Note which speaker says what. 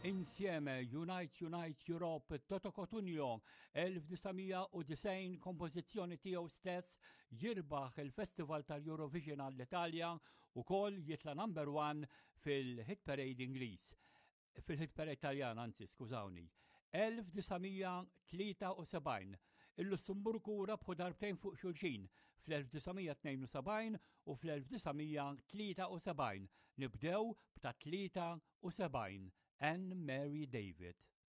Speaker 1: Insieme Unite Unite Europe Toto Cotugno 1990 kompożizzjoni tiegħu stess jirbaħ il-Festival tal-Eurovision għall-Italja u kol jitla number one fil-Hit Parade Ingliż. Fil-Hit Parade Taljan, anzi, skużawni. 1973 il-Lussemburgu rabħu darbtejn fuq xulxin fl-1972 u fl-1973 nibdew b'ta' 73 Anne Mary David.